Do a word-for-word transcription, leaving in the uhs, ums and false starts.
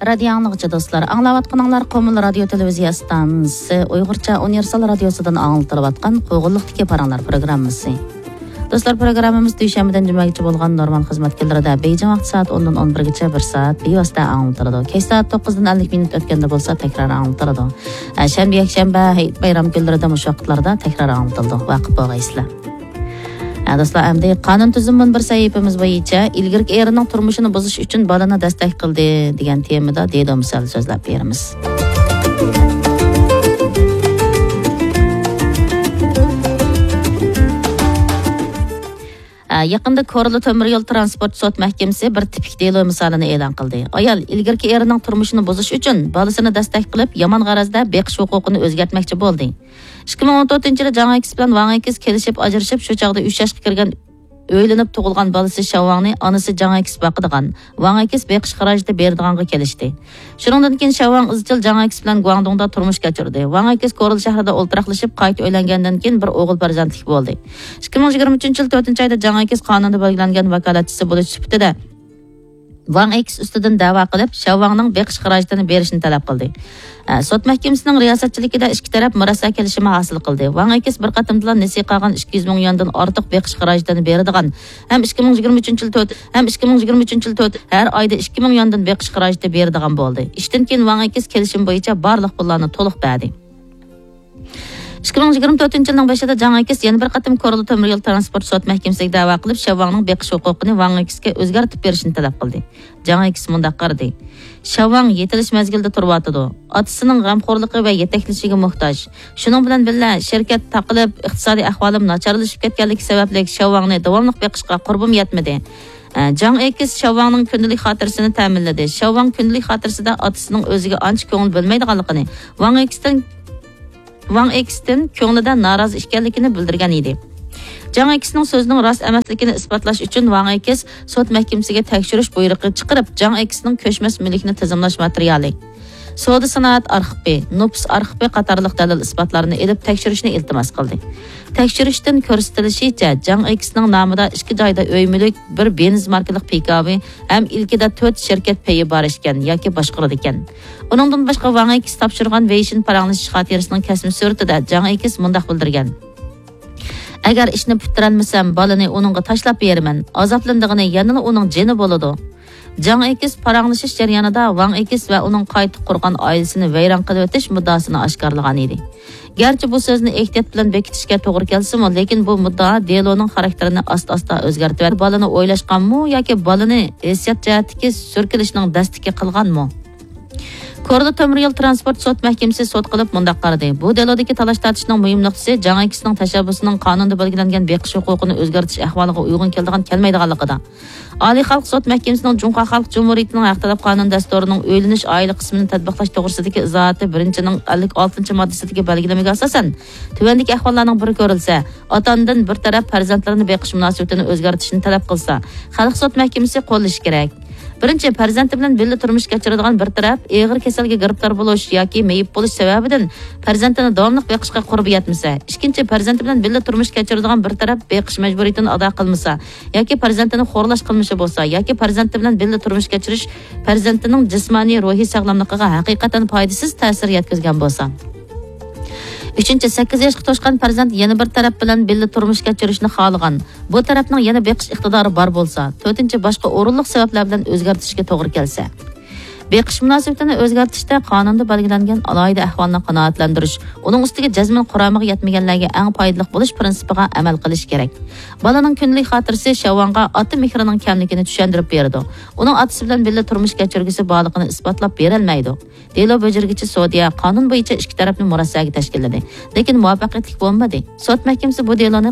رادىيو ئاڭلىغۇچى دوستلار، ئاڭلاۋاتقىنىڭلار قومۇل رادىيو تېلېۋىزىيە ئىستانسىسى ئۇيغۇرچە ئۇنىۋېرسال رادىيوسىدىن ئاڭلىتىلىۋاتقان قوغۇنلۇقتىكى پاراڭلار پروگراممىسى. دوستلار، پروگراممىمىز دۈشەنبىدىن جۈمەگىچە بولغان نورمال خىزمەت كۈنلىرىدە بېيجىڭ ۋاقتى سائەت ئوندىن ئون بىرگىچە بىر سائەت بىۋاسىتە ئاڭلىتىلىدۇ. كەچ سائەت توققۇزدىن ئەللىك مىنۇت ئۆتكەندە بولسا تەكرار ئاڭلىتىلىدۇ. ئە، شەنبە، يەكشەنبە، ھېيت بايرام كۈنلىرىدە مۇشۇ ۋاقىتلاردا تەكرار ئاڭلىتىلىدۇ. ۋاقىپ بولغايسىلەر. ھە، دوستلار، ئەمدى قانۇن تۈزۈم مۇنبىرى سەھىپىمىز بويىچە ئىلگىرىكى ئېرىنىڭ تۇرمۇشىنى بۇزۇش ئۈچۈن بالىنى دەستەك قىلدى دېگەن تېمىدا دېلو مىسالى سۆزلەپ بېرىمىز. ھە، يېقىندا كورلا تۆمۈر يول ترانسپورت سوت مەھكىمىسى بىر تىپىك دېلو مىسالىنى ئېلان قىلدى. ئايال ئىلگىرىكى ئېرىنىڭ تۇرمۇشىنى بۇزۇش ئۈچۈن بالىسىنى دەستەك قىلىپ، يامان غەرەزدە بېقىش ھوقۇقىنى ئۆزگەرتمەكچى بولدى. ئىككى مىڭ ئون تۆتىنچى يىلى جاڭ ئېكىس بىلەن ۋاڭ ئېكىس كېلىشىپ ئاجرىشىپ، شۇ چاغدا ئۈچ ياشقا كىرگەن، ئۆيلىنىپ تۇغۇلغان بالىسى شياۋ ۋاڭنى ئانىسى جاڭ ئېكىس باقىدىغان، ۋاڭ ئېكىس بېقىش خىراجىتى بېرىدىغانغا كېلىشتى. شۇنىڭدىن كېيىن شياۋ ۋاڭ ئىزچىل جاڭ ئېكىس بىلەن گۇاڭدۇڭدا تۇرمۇش كەچۈردى. ۋاڭ ئېكىس كورلا شەھىرىدە ئولتۇراقلىشىپ، قايتا ئۆيلەنگەندىن كېيىن بىر ئوغۇل پەرزەنتلىك بولدى. ئىككى مىڭ يىگىرمە ئۈچىنچى يىل تۆتىنچى ئايدا جاڭ ئېكىس قانۇندا بەلگىلەنگەن ۋاكالەتچىسى بولۇش سۈپىتىدە ۋاڭ ئېكىس ئۈستىدىن دەۋا قىلىپ، شياۋ ۋاڭنىڭ بېقىش خىراجىتىنى بېرىشىنى تەلەپ قىلدى. ئە، سوت مەھكىمىسىنىڭ رىياسەتچىلىكىدە ئىككى تەرەپ مۇرەسسە كېلىشىمى ھاسىل قىلدى. ۋاڭ ئېكىس بىر قېتىمدىلا نېسى قالغان ئىككى يۈز مىڭ يۈەندىن ئارتۇق بېقىش خىراجىتىنى بېرىدىغان ھەم ئىككى مىڭ يىگىرمە ئۈچىنچى يىل تۆت، ھەم ئىككى مىڭ يىگىرمە ئۈچىنچى يىل تۆت، ھەر ئايدا ئىككى مىڭ يۈەندىن بېقىش خىراجىتى بېرىدىغان بولدى. ئىشتىن كېيىن ۋاڭ ئېكىس كېلىشىم بويىچە بارلىق پۇللارنى تولۇق بەردى. ئىككى مىڭ يىگىرمە تۆتىنچى يىلنىڭ بېشىدا جاڭ ئېكىس يەنە بىر قېتىم كورلا تۆمۈر يول ترانسپورت سوت مەھكىمىسىگە دەۋا قىلىپ، شياۋ ۋاڭنىڭ بېقىش ھوقۇقىنى ۋاڭ ئېكىسكە ئۆزگەرتىپ بېرىشنى تەلەپ قىلدى. جاڭ ئېكىس مۇنداق قارىدى: شياۋ ۋاڭ يېتىلىش مەزگىلىدە تۇرۇۋاتىدۇ. ئاتىسىنىڭ غەمخورلۇقى ۋە يېتەكلىشىگە موھتاج. شۇنىڭ بىلەن بىللە، شىركەت تاقىلىپ، ئىقتىسادىي ئەھۋالىم ناچارلىشىپ كەتكەنلىكى سەۋەبلىك، شياۋ ۋاڭنى داۋاملىق بېقىشقا قۇربۇم يەتمىدى. ئە، جاڭ ئېكىس شياۋ ۋاڭنىڭ كۈندىلىك خاتىرىسىنى تەمىنلىدى. شياۋ ۋاڭ كۈندىلىك خاتىرىسىدە ئاتىسىنىڭ ئۆزىگە ئانچە كۆڭۈل بۆلمەيدىغانلىقىنى، ۋاڭ ئېكىستىن، ۋاڭ ئېكىستىن كۆڭلىدە نارازى ئىكەنلىكىنى بىلدۈرگەن ئىدى. جاڭ ئېكىسنىڭ سۆزىنىڭ راست ئەمەسلىكىنى ئىسپاتلاش ئۈچۈن، ۋاڭ ئېكىس سوت مەھكىمىسىگە تەكشۈرۈش بۇيرۇقى چىقىرىپ، جاڭ ئېكىسنىڭ كۆچمەس مۈلۈكنى تىزىملاش ماتېرىيالى، سودا سانائەت ئارخىپى، نوپۇس ئارخىپى قاتارلىق دەلىل ئىسپاتلارنى ئېلىپ تەكشۈرۈشنى ئىلتىماس قىلدى. تەكشۈرۈشتىن كۆرسىتىلىشىچە، جاڭ ئېكىسنىڭ نامىدا ئىككى جايدا ئۆي مۈلۈك، بىر بېنز ماركىلىق پىكاپى ھەم ئىلكىدە تۆت شىركەت پېيى بار ئىكەن ياكى باشقۇرىدىكەن. ئۇنىڭدىن باشقا، ۋاڭ ئېكىس تاپشۇرغان ۋېيشىن پاراڭلىشىش خاتىرىسىنىڭ كەسمە سۈرىتىدە جاڭ ئېكىس مۇنداق بىلدۈرگەن: ئەگەر ئىشنى پۈتتۈرەلمىسەم، بالىنى ئۇنىڭغا تاشلاپ بېرىمەن. ئازابلىنىدىغىنى يەنىلا ئۇنىڭ جېنى بولىدۇ. جاڭ ئېكىس پاراڭلىشىش جەريانىدا ۋاڭ ئېكىس ۋە ئۇنىڭ قايتا قۇرغان ئائىلىسىنى ۋەيران قىلىۋېتىش مۇددىئاسىنى ئاشكارىلىغان ئىدى. گەرچە بۇ سۆزنى ئېھتىيات بىلەن بېكىتىشكە توغرا كەلسىمۇ، لېكىن بۇ مۇددىئا دېلونىڭ خاراكتېرىنى ئاستا-ئاستا ئۆزگەرتىۋەتتى. بالىنى ئويلاشقانمۇ ياكى بالىنى ھېسسىيات جەھەتتىكى سۈركىلىشنىڭ دەستىكى قىلغانمۇ؟ كورلا تۆمۈر يول ترانسپورت سوت مەھكىمىسى سوت قىلىپ مۇنداق قارىدى: بۇ دېلودىكى تالاش-تارتىشنىڭ مۇھىم نۇقتىسى جاڭ ئېكىسنىڭ تەشەببۇسىنىڭ قانۇندا بەلگىلەنگەن بېقىش ھوقۇقىنى ئۆزگەرتىش ئەھۋالىغا ئۇيغۇن كېلىدىغان-كەلمەيدىغانلىقىدا. ئالىي خەلق سوت مەھكىمىسىنىڭ جۇڭخۇا خەلق جۇمھۇرىيىتىنىڭ ھەق تەلەپ قانۇن دەستۇرىنىڭ ئۆيلىنىش ئائىلە قىسمىنى تەتبىقلاش توغرىسىدىكى ئىزاھاتى بىرىنچىنىڭ ئەللىك ئالتىنچى ماددىسىدىكى بەلگىلىمىگە ئاساسەن، تۆۋەندىكى ئەھۋاللارنىڭ بىرى كۆرۈلسە، ئاتا-ئانىدىن بىر تەرەپ پەرزەنتلىرىنى بېقىش مۇناسىۋىتىنى ئۆزگەرتىشنى تەلەپ قىلسا، خەلق سوت مەھكىمىسى قوللىشى كېرەك. بىرىنچى، پەرزەنتى بىلەن بىللە تۇرمۇش كەچۈرىدىغان بىر تەرەپ ئېغىر كېسەلگە گىرىپتار بولۇش ياكى مېيىپ بولۇش سەۋەبىدىن پەرزەنتىنى داۋاملىق بېقىشقا قۇربى يەتمىسە، ئىككىنچى، پەرزەنتى بىلەن بىللە تۇرمۇش كەچۈرىدىغان بىر تەرەپ بېقىش مەجبۇرىيىتىنى ئادا قىلمىسا ياكى پەرزەنتىنى خورلاش قىلمىشى بولسا ياكى پەرزەنتى بىلەن بىللە تۇرمۇش كەچۈرۈش پەرزەنتىنىڭ جىسمانىي، روھىي ساغلاملىقىغا ھەقىقەتەن پايدىسىز تەسىر يەتكۈزگەن بولسا. ئۈچىنچى، سەككىز ياشقا توشقان پەرزەنت يەنە بىر تەرەپ بىلەن بىللە تۇرمۇش كەچۈرۈشنى خالىغان، بۇ تەرەپنىڭ يەنە بېقىش ئىقتىدارى بار بولسا. تۆتىنچى، باشقا ئورۇنلۇق سەۋەبلەر بىلەن ئۆزگەرتىشكە توغرا كەلسە. بېقىش مۇناسىۋىتىنى ئۆزگەرتىشتە قانۇندا بەلگىلەنگەن ئالاھىدە ئەھۋالنى قانائەتلەندۈرۈش، ئۇنىڭ ئۈستىگە جەزمەن قۇرامىغا يەتمىگەنلەرگە ئەڭ پايدىلىق بولۇش پىرىنسىپىغا ئەمەل قىلىش كېرەك. بالىنىڭ كۈندىلىك خاتىرىسى شياۋ ۋاڭغا ئاتا مېھرىنىڭ كەملىكىنى چۈشەندۈرۈپ بېرىدۇ. ئۇنىڭ ئاتىسى بىلەن بىللە تۇرمۇش كەچۈرگۈسى بارلىقىنى ئىسپاتلاپ بېرەلمەيدۇ. دېلو بېجىرگۈچى سودىيە قانۇن بويىچە ئىككى تەرەپنى مۇرەسسەگە تەشكىللىدى، لېكىن مۇۋەپپەقىيەتلىك بولمىدى. سوت مەھكىمىسى بۇ دېلونى